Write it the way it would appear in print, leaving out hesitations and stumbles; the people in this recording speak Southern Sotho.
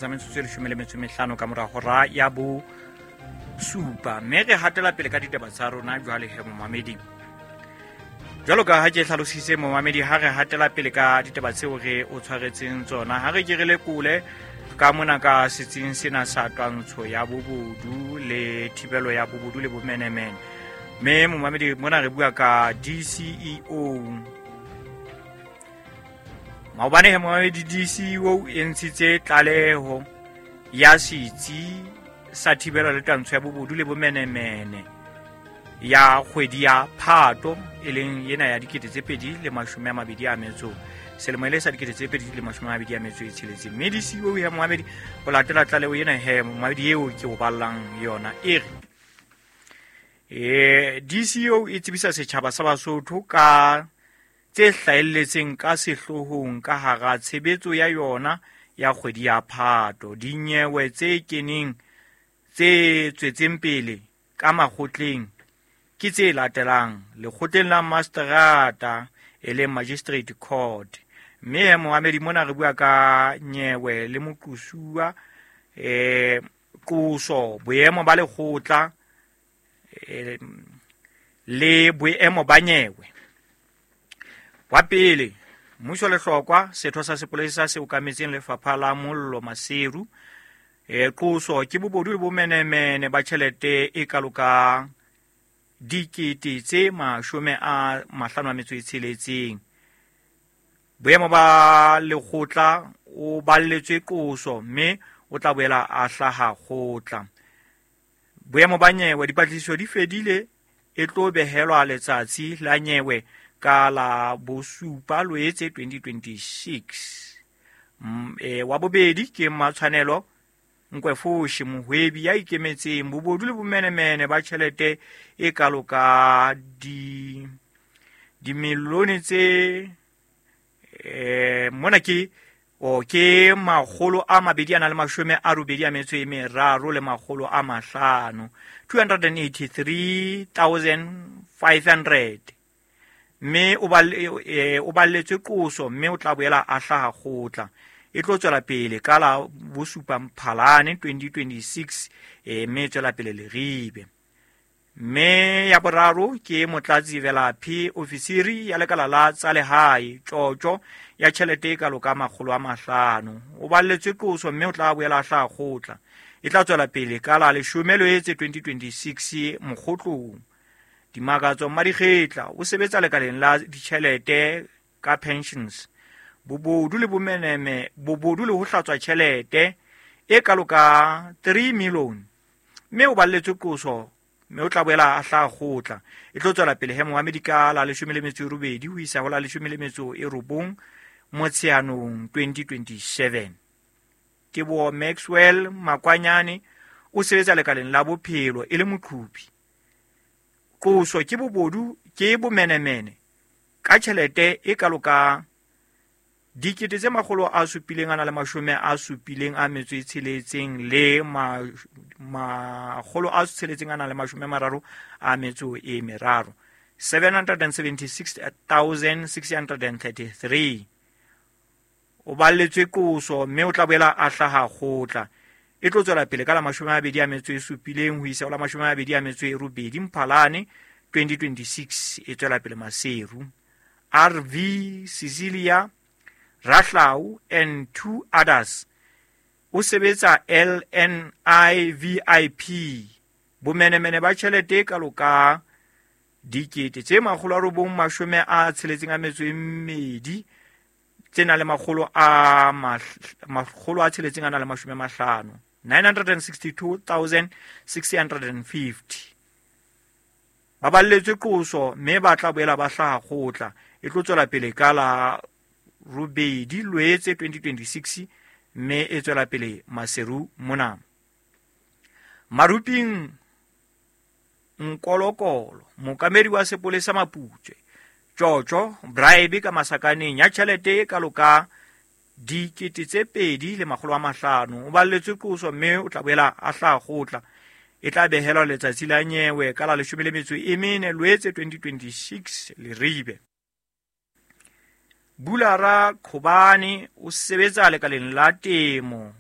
Tsa metsotso e 15 ka mora hora ya bo supa, mme re hatela pele ka ditaba tsa rona. Jwale he, momamedi, jwalo ka ha ke hlalositse, momamedi, ha re hatela pele ka ditaba tseo re o tshwaretseng tsona, ha re ke re lekole ka mona ka setsing sena sa twantsho ya bobodu le thibelo ya bobodu le bomenemene. Mme momamedi, mona re bua ka DCEO. Maobane he, momamedi, DCEO e ntshitse tlaleho ya setsi sa thibelo le twantsho ya bobodu le bomenemene ya kgwedi ya Phato, e leng ena ya 2020 selemo, e le sa 2026. Mme DCEO ya, momamedi, ho latela tlaleho ena he, momamedi, eo ke o ballang yona, e re DCEO e tsebisa setjhaba sa Basotho ka tse hlahelletseng ka sehloohong ka hara tshebetso ya yona ya kgwedi ya Phato. Dinyewe tse keneng tse tswetseng pele ka makgotleng ke tse latelang: lekgotleng la mastrata, e leng Magistrate Court. Mme he, momamedi, mona re bua ka nyewe le moqosuwa, qoso, boemo ba lekgotla le boemo ba nyewe. Wa pele, Mmuso Lehlokwa, setho sa sepolesa se okametseng lefapha la mollo Maseru. Qoso ke bobodu le bomenemene ba tjhelete e kalo ka 556 000. Boemo ba lekgotla, o balletswe qoso mme o tla boela a hlaha kgotla. Boemo ba nyewe, dipatlisiso di fedile, e tlo behelwa letsatsi la nyewe ka la 7 Loetse 2026. Wa bobedi ke Matshwanelo Nkwefoshi, mohwebi ya ikemetseng. Bobodu le bomenemene ba tjhelete e kalo ka di dimilione tse mona ke o ke 283 500, 283,500, mme o balletswe qoso mme o tla boela a hlaha kgotla. E tlo tswela pele ka la 7 Mphalane 2026, mme e tswela pele Leribe. Mme ya boraro ke Motlatsi Velaphi, ofisiri ya lekala la tsa lehae, tjotjo ya tjhelete e kalo ka 500. O balletswe qoso mme o tla boela a hlaha kgotla. E tla tswela pele ka la 10 Loetse 2026 Mokgotlong. Dimakatso Mmadikgetla o sebetsa lekaleng la ditjhelete ka pensions. Bobodu le bomeneme, bobodu le ho hlatswa tjhelete e kalo ka 3 million, mme o balletswe qoso mme o tla boela a hlaha kgotla. E tlo tswela pele he, momamedi, ka la 18 ho isa ho la 19 Motsheanong 2027. Teboho Maxwell Makwanyane o sebetsa lekaleng la bophelo e le moqhubi. Qoso ke bobodu ke bomenemene ka tjhelete e kalo ka 776 633, 776,633. O balletswe qoso mme o tla boela a hlaha kgotla. E tlo tswela pele ka la 27 ho isa ho la 28 Mphalane 2026, e tswela pele Maseru. RV Cecilia Rahlau and two others, o sebetsa LNIVIP. Bomenemene ba tjhelete e kalo ka 962 tse nang le 650, 962,650. Ba balletswe qoso mme ba tla boela ba hlaha kgotla. E tlo tswela pele ka la 8 Loetse 2026, mme e tswela pele Maseru mona. Maruping Nkolokolo, mookamedi wa sepolesa Maputswe, tjotjo, bribe ka masakaneng, ya tjhelete e kalo ka 2 500. O balletswe qoso mme o tla boela a hlaha kgotla. E tla behelwa letsatsi la nyewe ka la 14 Loetse 2026 Leribe. Bulara Qhobane o sebetsa lekaleng la temo.